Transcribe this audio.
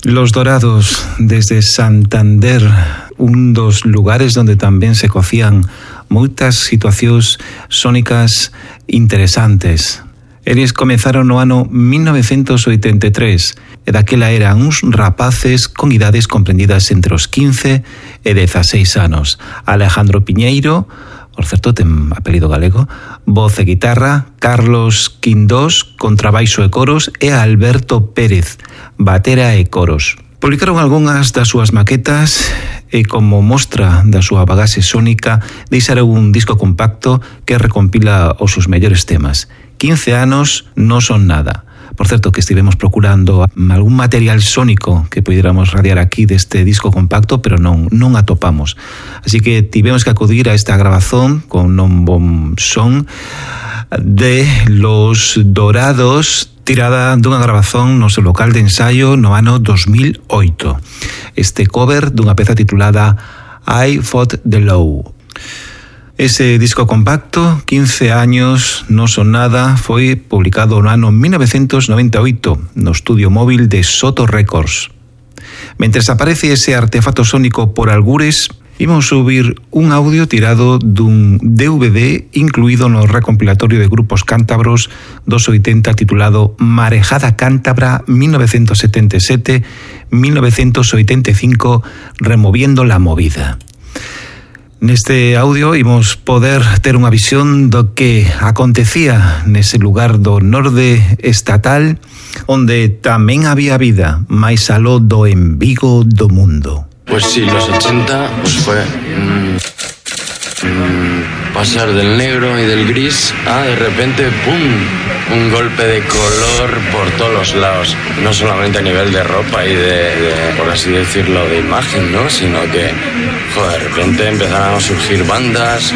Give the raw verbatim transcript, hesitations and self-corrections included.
Los Dorados, desde Santander, un dos lugares donde tamén se cocían moitas situacións sónicas interesantes. Eles comenzaron no ano mil novecentos oitenta e tres e daquela eran uns rapaces con idades comprendidas entre os quince e dezaseis anos. Alejandro Piñeiro, por certo ten apelido galego, voz e guitarra, Carlos Quindós, contrabaixo e coros, e Alberto Pérez, batera e coros. Publicaron algunhas das súas maquetas e como mostra da súa bagaxe sónica deixaron un disco compacto que recompila os seus mellores temas. quince anos non son nada. Por certo, que estivemos procurando algún material sónico que pudiéramos radiar aquí deste disco compacto, pero non non atopamos. Así que tivemos que acudir a esta grabazón con non bon son de Los Dorados, tirada dunha grabazón no seu local de ensaio no ano dos mil oito. Este cover dunha peza titulada I Fought the Law. Ese disco compacto, quince años non son nada, foi publicado no ano mil novecentos noventa e oito no estudio móvil de Soto Records. Mentres aparece ese artefacto sónico por algures, imos subir un audio tirado dun D V D incluído no recompilatorio de grupos cántabros dos oitenta titulado Marejada Cántabra mil novecentos setenta e sete a mil novecentos oitenta e cinco, removiendo la movida. Neste audio imos poder ter unha visión do que acontecía nese lugar do norde estatal onde tamén había vida, máis aló do embigo do mundo. Pues sí, los ochenta pues fue mmm, mmm, pasar del negro y del gris a de repente ¡pum! Un golpe de color por todos los lados, no solamente a nivel de ropa y de, de por así decirlo, de imagen, ¿no? Sino que, joder, de repente empezaron a surgir bandas.